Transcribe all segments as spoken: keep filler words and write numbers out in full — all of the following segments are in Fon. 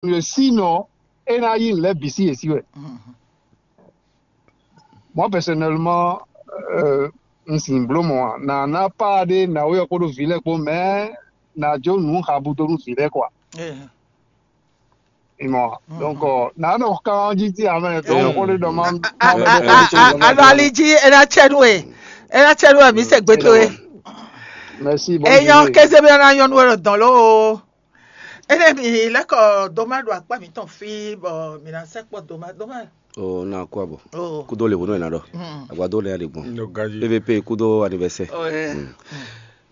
Sinon, é ná yí nǔ lɛ́ɛ bǐ sí yě sí wɛ. Moi personnellement, euh, un sin bló mɔ ná ná pá ɖé ná wé ɔ́ kpódó vǐ lɛ́ɛ kpó, mɛ ná jó nǔ habu dó nú vǐ lɛ́ɛ kɔa. Ìmɔ donc ná nɔ kán jí tí amɛ tó kó lé dɔ má. Alo ali jí é ná tsɛ nú we, é ná tsɛ nú we mi se gbé towe. Merci. Eyɔ kéze bí ɔ́ ná nyɔ́ nú we ɖo dɔn ló. Ene mi lɛkɔ doma ɖo akpa mitɔn fí bɔ mi ná sɛ kpɔ doma doma. O na kó abɔ. Oh. Kúdó lè wónú ẹ̀ ná ɖɔ. Agbadó lè yà lè gbɔn. Nɔ gaji. P V P kúdó anniversaire. Oh, eh.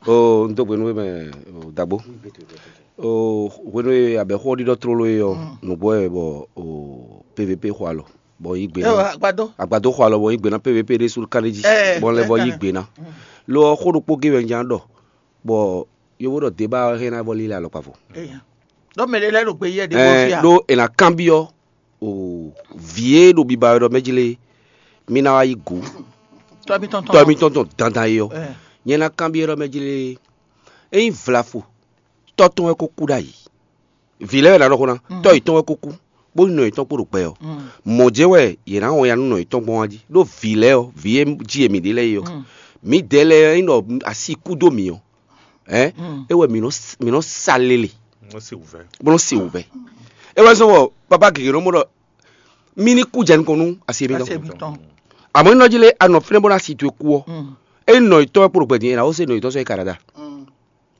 O n tó gbénu mɛ o dagbo. O hwenu e abɛ xɔ ɖiɖɔ tlóló e ɔ nǔgbɔ ɛ bɔ o P V P xɔ alɔ bɔ yí gbé Yo, ná. agbadó. Agbadó xɔ alɔ bɔ yí gbé ná P V P ɖé sú kánɖé jí. Eh, Bɔ lɛ vɔ eh, yí eh. Gbé ná. Lo ɔ xó ɖokpó gé wɛ n ján ɖɔ bɔ yovó ɖɔ déba hɛn ná vɔ lílɛ alɔkpa fo. Eya. Ɖɔ mɛ ɖé lɛ́ ɖo gbe yɛ ɖe bɔ Ɛɛ fia. ɖó è nǎ kanbyɔ́ o vǐ e ɖo biba wɛ ɖɔ mɛ jí lé mí ná wá yí gǔ Tɔmi tɔn tɔ mítɔn tɔn dandan é ɔ́. Eh. Nyɛ ná kanbyɔ́ ɖɔ mɛ jí lé ényí vlafo tɔ́ tɔn wɛ kó kú ɖ'ayǐ. Vǐ lɛ́ɛ wɛ ná ɖɔ xó ná tɔ́ yětɔn wɛ kó kú bó nɔ yětɔn kpó ɖo gbɛ ɔ́. Mɔ̌ jɛ́n wɛ yě ná wɔn ya nú nɔ yětɔn gbɔn wá jí ɖó vǐ lɛ́ɛ ɔ́ vǐ e jí e mǐ ɖe lɛ́ɛ é ɔ́. Mǐdɛɛ lɛ́ɛ ɔ́ ényí ɖɔ asi kú dó mǐ ɔ́, hɛn é wɛ mǐ nɔ s- mǐ nɔ sa lele Wọ́n sì wù fẹ́. bó nɔ se wǔvɛ́. É wɛ zɔ́n bɔ papa gěgé nɔ mɔ ɖɔ mí ní kú jɛ nukɔn nú asi e mí Asi tɔn. mi tɔn. Àmọ́ nínú jí lé anɔ fínɛ́ bó ná si towe kú ɔ́, é nɔ yětɔn wɛ kpo ɖo gbɛdín é ná wó se nɔ yětɔn sɔ́ é ka ɖaɖa.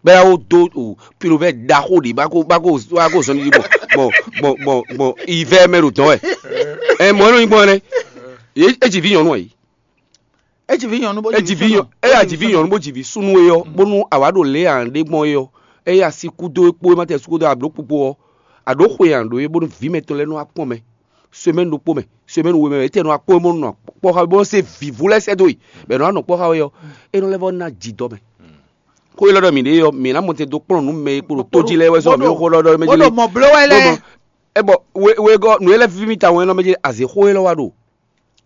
Bɛ́ yá wó dó o pilovɛ ɖaxó ɖě bá kó bá kó bá kó zɔn ɖiɖi gbɔn gbɔn gbɔn gbɔn gbɔn ivɛ mɛ ɖo dɔn wɛ. Ɛ mɔ é nɔ nyí gbɔn nɛ. É jí vi nyɔnu ayi. E ji vi nyɔnu bó É jí vi nyɔ é yà jí vi nyɔnu bó jí vi súnú é ɔ́ bónú àwa ɖo lě ǎ ɖé gbɔn é ɔ́. É yà sí kúdó é kpó é má tɛ sí kúdó àbló kpukpo ɔ́. Àɖó xwe ǎ ɖó é bónú vǐ mɛtɔn lɛ́ɛ nɔ wá kpɔ́n mɛ. Semaine ɖokpó mɛ semaine we mɛ é tɛ nɔ wá kpɔ́n é bónú nɔ kpɔ́ xá bónú se vǐvú lɛ́ɛ sɛ́ dó yi. Bɛ nɔ wá nɔ kpɔ́ xá é ɔ́. É nɔ lɛ́ vɔ ná jǐ dɔ mɛ. Xó élɔ́ ɖɔ mǐ ɖe ɔ́, mǐ ná mɔ tɛn dó kplɔ́n nǔ mɛ e kpo ɖo tó jí lɛ́ɛ wɛ sɔ mǐ xó lɔ́ ɖɔ mɛ jí bó ɖo mɔ bló wɛ lɛ. É bɔ we we gɔ́ nǔ e lɛ́ víví mi tawun é nɔ mɛ jí azě xó élɔ́ wá ɖo.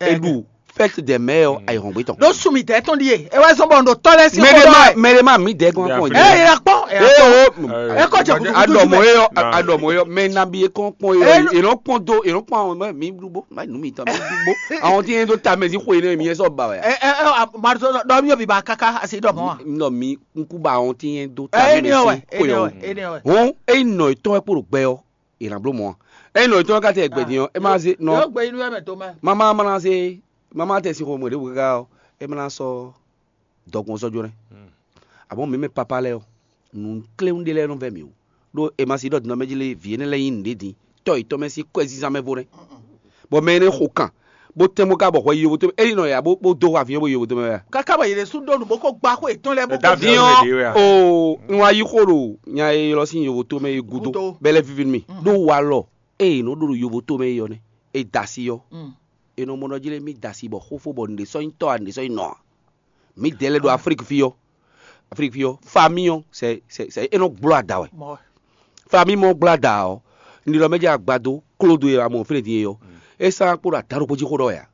Eɖu fɛ́t dɛ mɛ ɔ́ ayihɔngbé tɔn. Ɖó sumi tɛ tɔn ɖie e wɛ zɔn bɔ ɖo tɔ lɛ si xó Mɛɖema dɔ ɛ. mɛɖema mi dɛ gɔn kɔn Ɛ yìí la kpɔn ɛ la kpɔn. Eh, Ɛ kɔ jɛ kutu kutu Adɔmɔ mɛ. yɔ adɔmɔ yɔ mɛ nabi e kɔn kpɔn yɔ Eh, e nɔ kpɔn do e nɔ kpɔn àwọn mɛ mi dugbo ma nu mi tɔn mi dugbo àwọn tí yẹn tó ta mɛ sí xo yẹn mi yẹn sɔ ba wɛ. Ɛ ɛ ɛ Marzɔ dɔ mi yɔ bi ba kaka asi dɔ mɔ wa. Nɔ mi nkuba àwọn tí yẹn tó ta Ɛ mɛ eni ɔwɛ sí xo eni yɔ. ɔwɛ eni ɔwɛ. Hɔn eyi nɔ etɔn wɛ kpo ɖo gbɛ yɔ e na blo mɔ wa eyi nɔ etɔn wɛ ka tɛ gbɛ din yɔ e ma se nɔ Yóò gbé inú ẹ̀ mẹ́ tó mẹ́. mama mana se mama tɛ si xɔ mɔ ɖevo kaka ɔ e mana sɔ dɔgbɔn sɔ jo nɛ. Àmọ́ mi mɛ papa lɛ ɔ nǔ kléwún ɖé lɛ́ɛ nɔ vɛ mì o ɖó e ma si ɖɔ dinɔ mɛ jí lé vǐ énɛ́ lɛ́ɛ nyí nǔɖé din tɔ́ yětɔn mɛ sín kɔ́ ɛ zínzán mɛ vo nɛ́. Bɔ mɛ énɛ́ xo kan bó tɛ́n bó ka bɔ hwɛ yi yovo tɔn mɛ é nɔ ya bó bó dó aviɔn bó yi yovo tɔn mɛ wɛ. Kaka bɔ yě ɖe sú ɖó nǔ bó kó gbá xó yětɔn lɛ́ɛ bó Ẹ dá kó aviɔn Diɔ wɛ ɖe wɛ. o n wa yi xo ɖo nya e ylɔ sín yovo tɔn mɛ e gúdo Gúdo. bɛlɛ vivi mi ɖó walɔ eye nɔ ɖó ɖo yovo tɔn mɛ e yɔ nɛ e da si yɔ Mm. e nɔ mɔ nɔ jí lé mi da si bɔ xófó bɔ nǔɖé sɔ́ nyí tɔ́ a nǔɖé sɔ́ nyí nɔ a. Mi dɛ lɛ ɖo Aflík fí ɔ́ Aflík fí ɔ́ fami ɔ́ sɛ sɛ sɛ e nɔ gblɔ ada wɛ. Mɔ Fami mɔ gblɔ ada ɔ́ ni ɖɔ mɛ jɛ agbado klódo e amɔ fínɛ din e yɔ e sá kpó ɖo ata ɖokpó jí xó ɖɔ wɛ a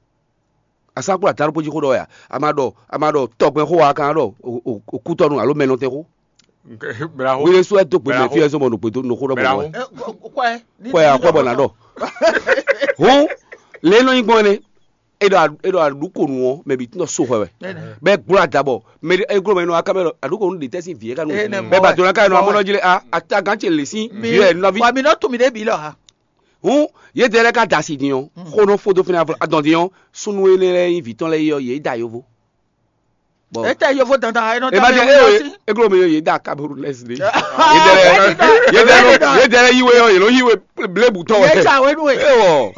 a sá kpó ɖo ata ɖokpó jí xó ɖɔ wɛ a a ma ɖɔ a ma ɖɔ tɔgbɛn xó wa kan ɖɔ okútɔnu alo mɛnɔtɛn xó Braho. Wele sɔ ɛ do gbe mɛ Braho. Fi ɛ zɔn bɔ nukpe do nuxó ɖɔ bɔ Braho. wɛ kɔɛ kɔɛ a kɔɛ bɔ na ɖɔ hɔn lɛ nɔ nyi gbɔn ne e ɖɔ e ɖɔ aɖukonu ɔ mɛ bi tún dɔ so xɔ wɛ bɛ gblo ada bɔ mɛ e gblo mɛ nɔ aka mɛ lɔ aɖukonu de tɛ sin vi yɛ ka nu Ee, nɛ bɛ mɔ ba wɛ. dona ka nɔ Mɔ amɔ wɛ. Nɔ dzi le a ata gan tse le sin vi yɛ nɔ vi Wa mi nɔ tu mi ɖe bi lɔ ha. Hun ye de lɛ ka da si din ɔ xo nɔ fo do fina adɔn din ɔ sunu ene lɛ yin vi tɔn lɛ yi ɔ ye da yovo. Bɔn E tɛ yovo dandan e nɔ e ma da jɛ mi e wɔ o si. E glo mi ye da Cameroun lɛ si de. Ye de lɛ ye de lɛ yi we ɔ ye lɔ yi we blebu tɔ Ye wɛ. tsa wenu we. E wɔ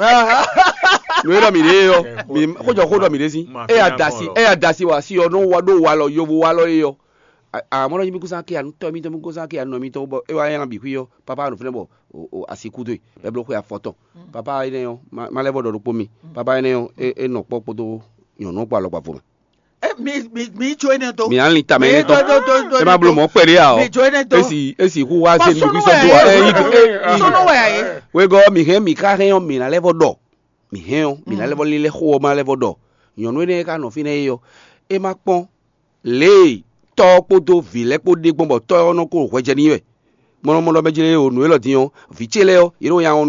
nu e dɔ mi de yɔ mi xojɔ xo dɔ mi de si. E ya da si e ya da si wa si ɔ no wa do wa lɔ yovo wa lɔ ye yɔ. Amɔ lɔ yi mi kusa ke anu tɔ mi tɔ mi kusa ke anu mi tɔ bɔ e wa yɛn bi kui yɔ papa anu fɛnɛ bɔ o asi kudo ye bɛ blo xo ya fɔtɔn papa yi ne yɔ ma lɛ bɔ dɔ ɖokpo mi papa yi ne yɔ e nɔ kpɔ kpoto nyɔnu kpɔ alɔ kpa fo mɛ. E mi mi mi tso ene do. Mi ali ta mɛ Mi ne do tɔ do do do. e ma blo mɔ kpɛ de ya Mi ɔ tso ene do. Esi esi hu wa se Bɔ ni sunu bi wɛ sɔ do ɔ e yi ye. Sunu wɛ ye. Wegɔ mi hɛn mi ka hɛn ɔ mi na lɛ vɔ dɔ mi hɛn ɔ mi na lɛ vɔ lilɛ xo ɔ ma lɛ vɔ dɔ nyɔnu ene ka nɔ fi nɛ ye ɔ e ma kpɔn le tɔ kpodo vi lɛ kpo de gbɔn bɔ tɔ ɔ nɔ ko hwɛjɛ ni wɛ kplɔ́nmɔɖɔ mɛ jlé o nǔ élɔ́ din ɔ́, vǐ ce lɛ́ɛ ɔ́, yě nɔ nya ɔ́